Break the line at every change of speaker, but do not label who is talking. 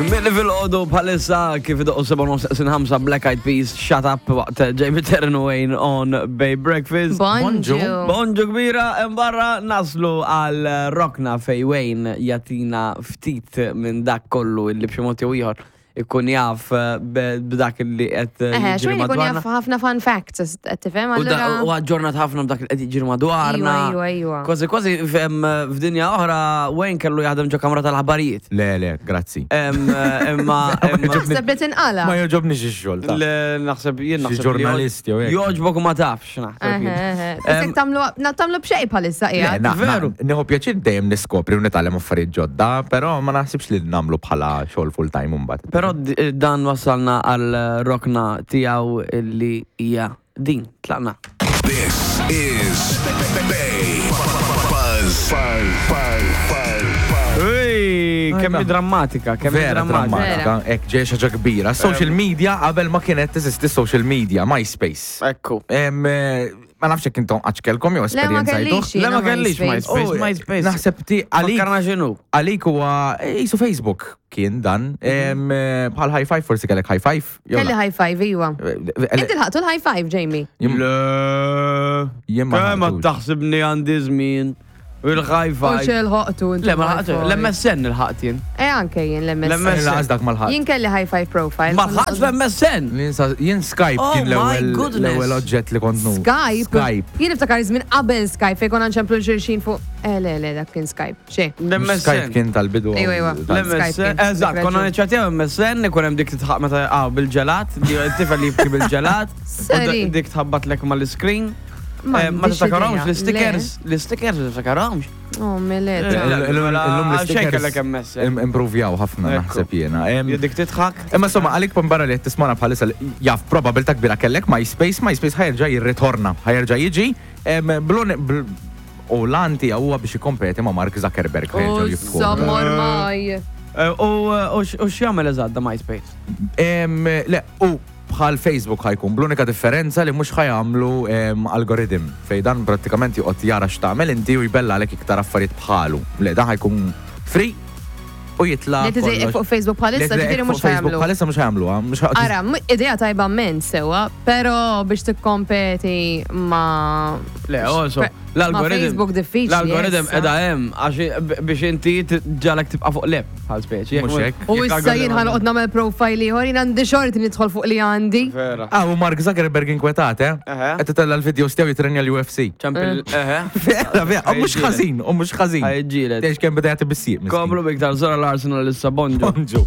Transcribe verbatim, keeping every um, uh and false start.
Milli fil-ħodu bħalissa kif idoqqu sebgħa Black Eyed Peas, Shut Up waqt Jamie Terren Wayne on Bay Breakfast.
Bonġu.
Bonġu kbira, barra naslu għal rokna fej Wayne jatina ftit minn dak kollu illi b'xi mod jew ieħor ikun jaf eh, b'dak li qed
Eħe,
jiġri
xejn ikun
madwarna.
jaf ħafna fun facts, qed tifhem
U da-
allura.
U aġġornat ħafna b'dak li qed jiġri madwarna.
Iwa, iwa, iwa.
Kważi kważi fem, f'dinja oħra Wayne kellu jaħdem ġo kamra tal-aħbarijiet.
Le, le, grazzi.
Em, Imma imma-
Naħseb li tinqala.
Ma joġobni xi xogħol ta'
Le, naħseb jien
Xi
naħseb li
ġurnalist jew hekk.
Joġbok u ma tafx, naħseb jien.
Eħe, eħe. Isek tagħmlu na- tagħmlu b'xejn bħalissa
Le,
qiegħed.
na- na-
Veru.
Nieħu pjaċir dejjem niskopri u nitgħallem affarijiet ġodda, però ma naħsibx li nagħmlu bħala xogħol full time imbagħad.
Però d- dan wasalna għal rokna tiegħu li hija din, tlaqna.
This is Bay Buzz. Buzz. Buzz. Buzz. Buzz.
Ej, kemm hi
Ajda.
drammatika, kemm hi
Vera
drammatika.
drammatika, hekk ġej xi ħaġa kbira. Social media qabel ma kienet teżisti social media, MySpace.
Ekku.
Em, eh, Ma nafx jekk intom qatt kellkom jew
Le, ma
esperjenzajtuh.
kellix
Le, ma
jiena
kellix
MySpace.
MySpace.
Oh,
MySpace.
Naħseb ti għalik
Fakkarna x'inhu.
għalik huwa jisu Facebook kien dan. Em, eh, Bħal high five forsi kellek high five. jew
Kelli
la?
high five, iwa.
Eh,
Inti lħaqtu l-high five, Jamie.
Jien-
Le.
Jien ma
Kemm ma
ħadtux.
taħsibni għandi żmien. U l-high
U
five.
xel ħoqtu inti.
Le, ma
l-high
lħaqt,
five.
l-MSN il-ħaqt jien.
Eh, anke jien
L-MSN.
l-MSN.
Laqas dak mal-ħadd.
Jien kelli high five profile.
Ma lħaqtx l-MSN.
Jien Jien Skype
Oh
kien
my
l-ewwel
goodness.
l-ewwel oġġett li kont nu.
Skype.
Skype.
Jien niftakar żmien qabel Skype fejn konna nċemplu xulxin fuq. Eh, le, le, dak kien Skype. Xi.
Skype
L-MSN.
kien tal-bidu.
Ejwa, ejwa.
tal-
L-MSN.
L-MSN,
Skype kien.
eżatt,
Dik
konna
raġun.
niċċatjaw MSN, ikun hemm dik titħaq meta ah, bil-ġelat, di- it-tifel li jibki bil-ġelat, u
Seri.
dik tħabbat lek mal-screen. Eh, Ma
M'għandix
tiftakarhomx
idea.
l-stickers, l-stickers ma tiftakarhomx.
Le. Oh, milet.
Eh,
Illum
Mela,
l-stickers
xejn kellek MSN.
im- Improvjaw ħafna
Ekku.
naħseb jiena. Em,
Dik titħak.
Imma insomma, għalik barra li qed tismana bħalissa li jaf probabilta kbira kellek MySpace, MySpace ħa jerġa' jirritorna, ħa jerġa' jiġi em, blon- bl- u l-għan tiegħu huwa biex jikkompeti ma' Mark Zuckerberg
U
ħa jerġgħu jiftħu.
sammor maj.
Eh, U u x- u x'jagħmel eżatt da MySpace?
Em, Le, u bħal Facebook ħa jkun bl-unika differenza li mhux ħa jagħmlu em, algoritm fej dan prattikament joqgħod jara x'tagħmel inti u jbella għalek iktar affarijiet bħalu. Le, dan ħa jkun free u jitla'
Li tiżejqek fuq Facebook bħalissa, ġifieri mhux
Facebook
ħa jagħmlu.
Bħalissa mhux ħa jagħmluha, mhux ħa-
Ara, m- idea tajba minn sewa, pero biex tikkompeti ma.
Le, also,
Ma
l-algoritm.
Facebook diffiċli.
L-algoritm
issa.
edha hemm għax b- biex inti ġalek tibqa' fuq leb bħal speċi.
Mhux hekk.
U issa jien ħa noqgħod nagħmel profile ieħor, jien għandi xorti nidħol fuq li għandi.
Vera.
Ah, u Mark Zuckerberg inkwetat, eh?
Eħe.
Qed itella l-videos tiegħu jitrenja l-UFC.
ċempil, eħe.
Vera, vera, u mhux ħażin, u mhux ħażin.
Ħa jiġġieled.
Tgħix kemm beda jagħti bis-sieq. miskin.
Komplu biktar zora l-Arsenal issa bonġu.
Bonġu.